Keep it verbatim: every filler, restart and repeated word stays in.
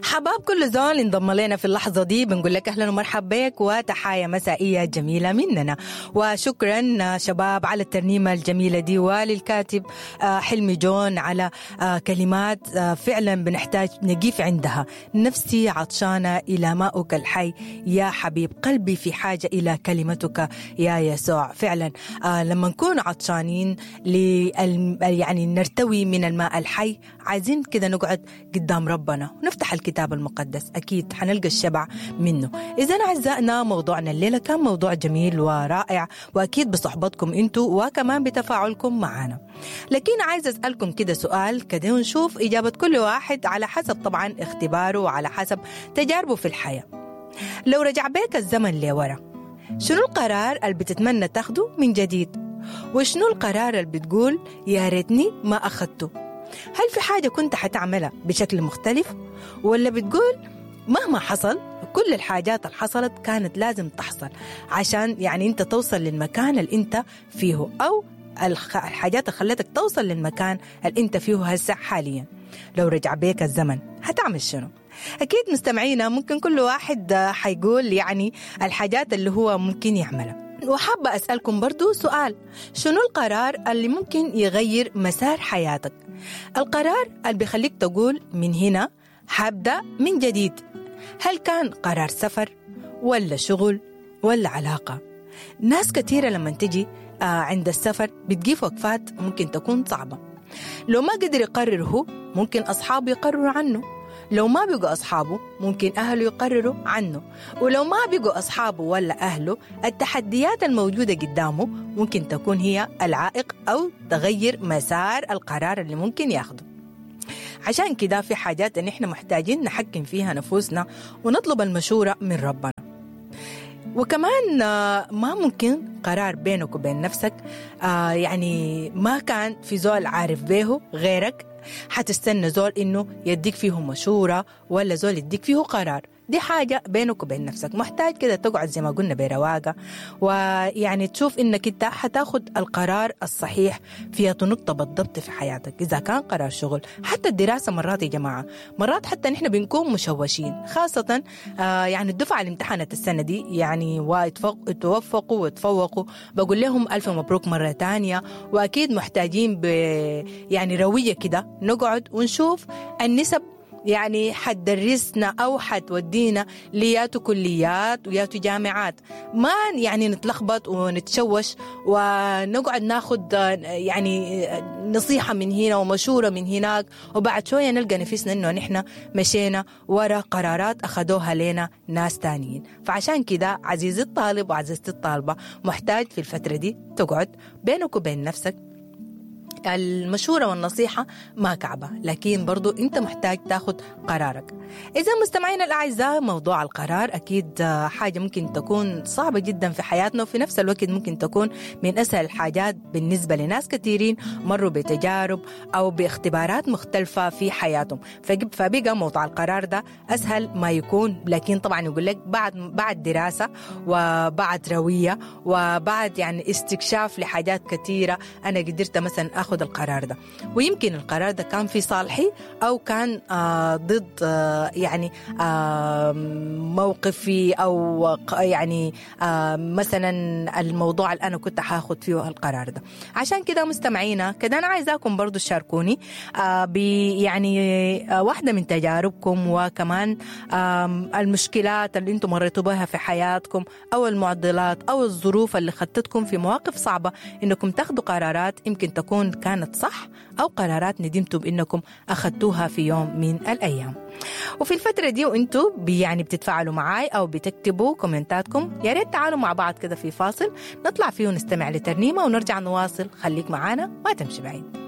حباب كل زول انضم لنا في اللحظة دي، بنقول لك أهلا ومرحبا بك وتحايا مسائية جميلة مننا، وشكرا شباب على الترنيمة الجميلة دي، وللكاتب حلمي جون على كلمات فعلا بنحتاج نقيف عندها. نفسي عطشانة إلى ماؤك الحي يا حبيب قلبي، في حاجة إلى كلمتك يا يسوع. فعلا لما نكون عطشانين يعني نرتوي من الماء الحي، عايزين كده نقعد قدام ربنا ونفتح الكتاب المقدس، أكيد حنلقى الشبع منه. إذن أعزائنا موضوعنا الليلة كان موضوع جميل ورائع، وأكيد بصحبتكم أنتوا وكمان بتفاعلكم معنا. لكن عايز أسألكم كده سؤال كده ونشوف إجابة كل واحد على حسب طبعا اختباره وعلى حسب تجاربه في الحياة. لو رجع بيك الزمن لورا، شنو القرار اللي بتتمنى تاخده من جديد؟ وشنو القرار اللي بتقول يا ريتني ما أخدته؟ هل في حاجة كنت حتعملها بشكل مختلف؟ ولا بتقول مهما حصل كل الحاجات اللي حصلت كانت لازم تحصل عشان يعني انت توصل للمكان اللي انت فيه، أو الحاجات اللي خلتك توصل للمكان اللي انت فيه هسه حاليا؟ لو رجع بيك الزمن هتعمل شنو؟ أكيد مستمعينا ممكن كل واحد حيقول يعني الحاجات اللي هو ممكن يعملها. وحابة أسألكم برضو سؤال، شنو القرار اللي ممكن يغير مسار حياتك؟ القرار اللي بيخليك تقول من هنا حابدأ من جديد. هل كان قرار سفر ولا شغل ولا علاقة؟ ناس كثيرة لما تجي عند السفر بتجيب وقفات ممكن تكون صعبة. لو ما قدر يقرر هو، ممكن أصحابه يقرروا عنه. لو ما بقوا أصحابه ممكن أهله يقرروا عنه، ولو ما بقوا أصحابه ولا أهله، التحديات الموجودة قدامه ممكن تكون هي العائق أو تغير مسار القرار اللي ممكن ياخده. عشان كده في حاجات إن إحنا محتاجين نحكم فيها نفوسنا ونطلب المشورة من ربنا. وكمان ما ممكن قرار بينك وبين نفسك يعني ما كان في زول عارف به غيرك، حتستنى زول إنه يديك فيه مشورة ولا زول يديك فيه قرار. دي حاجة بينك وبين نفسك، محتاج كده تقعد زي ما قلنا برواقة، ويعني تشوف إنك أنت حتاخد القرار الصحيح في نقطة بالضبط في حياتك. إذا كان قرار شغل، حتى الدراسة مرات يا جماعة، مرات حتى نحن بنكون مشوشين، خاصة آه يعني الدفعة اللي امتحنت السنة دي يعني وتوفقوا وتفوقوا، بقول لهم ألف مبروك مرة تانية. وأكيد محتاجين ب يعني روية كده نقعد ونشوف النسب يعني حتدرسنا أو حتودينا لياتو كليات وياتو جامعات، ما يعني نتلخبط ونتشوش ونقعد ناخد يعني نصيحة من هنا ومشورة من هناك، وبعد شوية نلقى نفسنا إنه نحن مشينا ورا قرارات أخدوها لنا ناس تانيين. فعشان كده عزيزي الطالب وعزيزتي الطالبة، محتاج في الفترة دي تقعد بينك وبين نفسك. المشورة والنصيحة ما كعبة، لكن برضو أنت محتاج تاخد قرارك. إذا مستمعينا الأعزاء، موضوع القرار أكيد حاجة ممكن تكون صعبة جدا في حياتنا، وفي نفس الوقت ممكن تكون من أسهل الحاجات بالنسبة لناس كثيرين مروا بتجارب أو باختبارات مختلفة في حياتهم، فبقى موضوع القرار ده أسهل ما يكون. لكن طبعا يقول لك بعد بعد دراسة وبعد روية وبعد يعني استكشاف لحاجات كثيرة أنا قدرت مثلا أخذ القرار ده، ويمكن القرار ده كان في صالحي أو كان آه ضد آه يعني آه موقفي، أو يعني آه مثلا الموضوع اللي أنا كنت هاخد فيه القرار ده. عشان كده مستمعينا كده أنا عايزاكم برضو تشاركوني آه يعني آه واحدة من تجاربكم، وكمان آه المشكلات اللي انتم مريتوا بها في حياتكم، أو المعضلات أو الظروف اللي خطتكم في مواقف صعبة إنكم تاخدوا قرارات يمكن تكون كانت صح، أو قرارات ندمتوا بأنكم أخذتوها في يوم من الأيام. وفي الفترة دي وانتوا يعني بتتفاعلوا معاي أو بتكتبوا كومنتاتكم، يا ريت تعالوا مع بعض كده في فاصل نطلع فيه ونستمع لترنيمة ونرجع نواصل. خليك معانا ما تمشي بعيد.